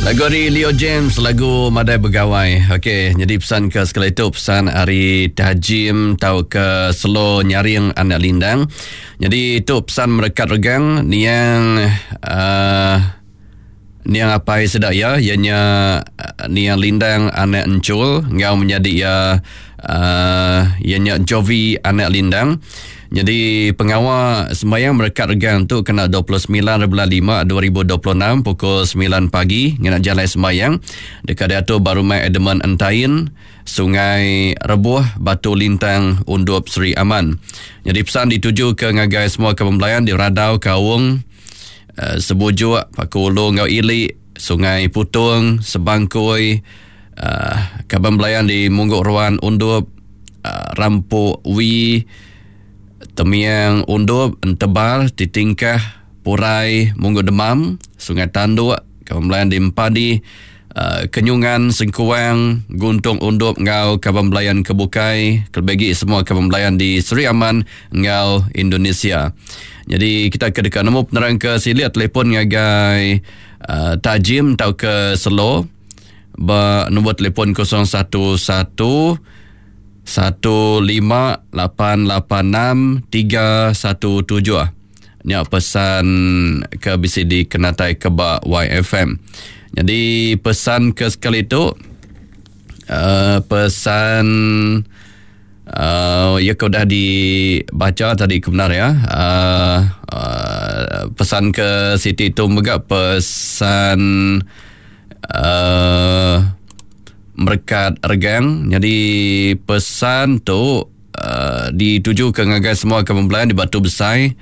Lagu ari Leo James, lagu Madai Begawai. Okey, jadi pesan ke sekali tu pesan ari Tajim tau ke Selo Nyaring Anak Lindang. Jadi tu pesan merekat regang niang uh, niang apai sida iya iya nya uh, niang Lindang Anak Encul enggau menyadi iya uh, iya nya Jovi Anak Lindang. Nyadi pengawa sembahyang merekat regang tu kena 29 bulan 5 2026 pukul 9 pagi ngena jalai sembahyang deka diatur ba Rumah Edmund Entain, Sungai Rebuh, Batu Lintang, Undup Sri Aman. Nyadi pesan dituju ke ngagai semua kaban belayan di Radau, Kaung, eh, Sebujuk, Paku Ulu enggau Ili, Sungai Putung, Sebangkoi, eh, kaban belayan di Munggu Ruan, Undup, Rampuk Wi, Temiang Undup, Entebar, Titingkah, Purai, Munggu Demam, Sungai Tanduk, Kaban Belayan di Empadi, Kenyungan, Sengkuang, Guntung Undup enggau kaban belayan ke bukai, kelebih agi semua kaban belayan di Sri Aman enggau Indonesia. Nyadi kita ke deka nemu penerang ke silik telefon ngagai Tajim tauka Selo. Ba nombor telefon 011 15886 317. Nya pesan ke bisi dikenatai ke ba YFM. Jadi pesan ke sekali tu uh, pesan uh, ya ke udah dibaca tadi ke benar ya. Uh, uh, pesan ke Siti tu mega pesan uh, merekat regang. Nyadi pesan tu uh, dituju ke ngagai semua kaban belayan di Batu Besai,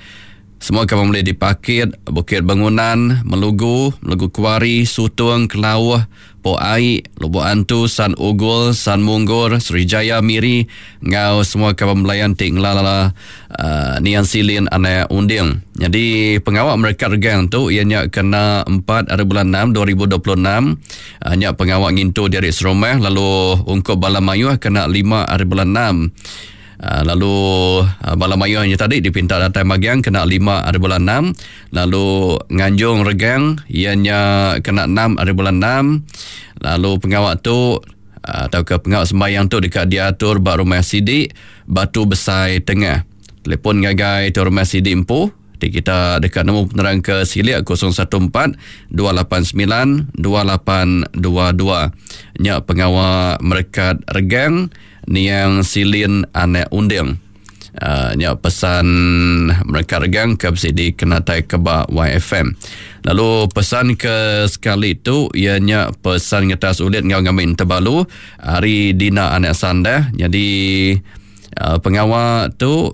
semua kaban belayan di Pakit, Bukit Bangunan, Melugu, Melugu Kuari, Sutung, Kelauh, Po Ai, Lubok Antu, San Ugol, San Munggor, Sri Jaya, Miri enggau semua kaban belayan ti ngelala uh, Niang Silin anak Unding. Nyadi pengawa merekat regang tu iya nya kena 4 hari bulan 6 2026 uh, nya pengawa ngintu diri serumah lalu ungkup bala mayuh kena 5 hari bulan 6. Uh, lalu uh, bala mayuh nya tadi dipinta datai magang kena 5 hari bulan 6 lalu nganjung regang iya nya kena 6 hari bulan 6 lalu pengawa tu tauka pengawa sembahyang tu deka diatur ba Rumah Sidi, Batu Besai Tengah. Telefon ngagai tu Rumah Sidi empu ti kita deka nemu penerang ke silik 014 289 2822. Nya pengawa merekat regang niang Silin Anak Unding. Uh, nya pesan mereka regang ke bisi dikenatai ke ba YFM. Lalu pesan ke sekali tu iya nya pesan ngetas ulit enggau ngambi tebalu hari Dina Anak Sandah. Jadi uh, pengawa tu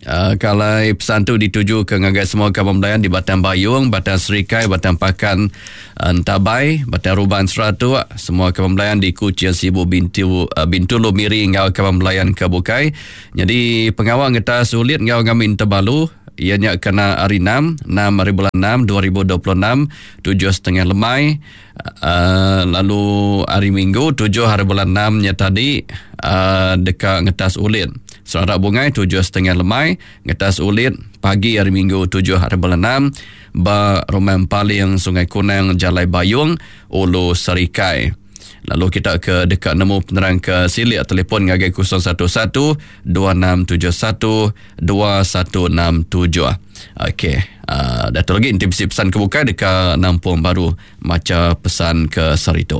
Uh, kalai pesan tu dituju ke ngagai semua kaban belayan di Batang Bayung, Batang Serikai, Batang Pakan, Entabai, Batang Ruban Seratuk, semua kaban belayan di Kuching, Sibu, Bintu, eh, Bintulu, Miri enggau kaban belayan ke bukai. Nyadi pengawa ngetas ulit enggau ngambi Tebalu iya nya kena hari 6, 6 hari bulan 6 2026, 7.30 lemai. Uh, lalu hari Minggu 7 hari bulan 6 nya tadi uh, deka ngetas ulit. Serarak bungai 7.30 lemai, ngetas ulit pagi hari Minggu 7 hari bulan 6 ba Rumah Empaling Sungai Kunang Jalai Bayung Ulu Serikai. Lalu kita ke deka nemu penerang ke silik telefon ngagai 011 2671 2167. Okey, uh, dah tu lagi enti bisi pesan ke bukai deka nampung baru macha pesan ke sehari tu.